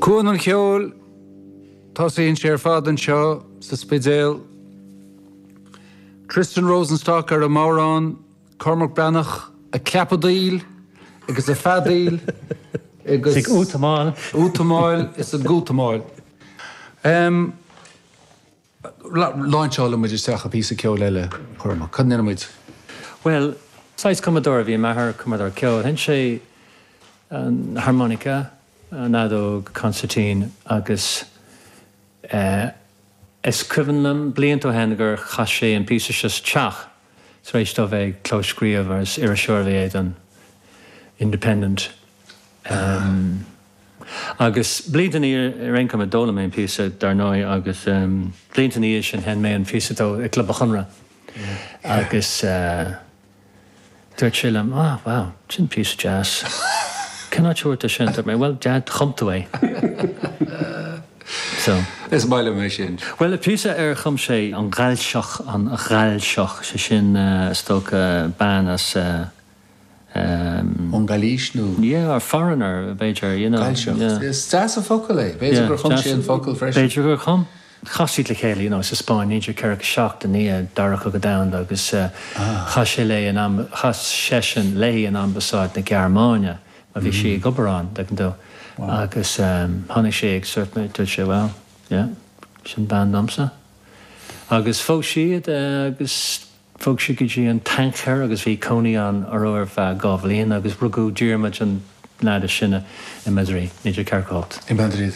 Cuan an Cheoil, tosaíonn sé ar fad anseo sa Spidéal. Tristan Rosenstock ar an mbodhrán, Cormac Breathnach ag clapadaíl agus ag feadaíl agus. Ag útamáil. Útamáil is ag útamáil. Láinseálfaidh muid isteach i píosa ceoil eile, Cormac. Cad a ndéanfaidh muid? Bhuel, saghas cumadóir a bhí i m'athair, cumadóir ceoil. Sheinn sé an harmonica, an fheadóg, consairtín agus eh is cuimhin liom blianta ó shin gur chas sé an píosa seo sa teach tar éis dó bheith ag clóscríobh agus iriseoir a bhí é don Independent. Agus blianta ina dhiaidh, ar aon chuma, d'fhoghlaim mé an píosa, dar ndóigh, agus blianta ina dhiaidh sin sheinn mé an píosa dó i gClub an Chonartha agus dúirt sé liom, ah, wow, sin píosa deas. Cén áit a bhfuair tú sin? Dúirt mé, well, Dad, chum tú é. So. Is maith liom é sin. Bhuel, píosa ar chum sé, an Ghaillseach, an Ghaillseach, sé sin, is dócha, bean as. Ón nGailís nó? Yeah, or foreigner, b'fhéidir, you know. Gaillseach. Yeah. Is deas an focal é. B'fhéidir gur chum sé an focal freisin. B'fhéidir gur chum. Chas siad le chéile, you know, sa Spáinn, 1947, i ndiaidh Dara Cogadh Domhanda agus chas sé léi in am, chas seisean léi in ambasáid na Gearmáine mar bhí sí ag obair ann, tuigeann tú. Agus tháinig sé agus dúirt mé, dúirt sé, well, yeah, sin bean domsa. Agus phós siad agus. Bhog siad go dtí an Tangier agus bhí cónaí ann orthu ar feadh 2 bhliain agus rugadh Diarmuid an leaid is sine i Madrid, 1948. I Madrid.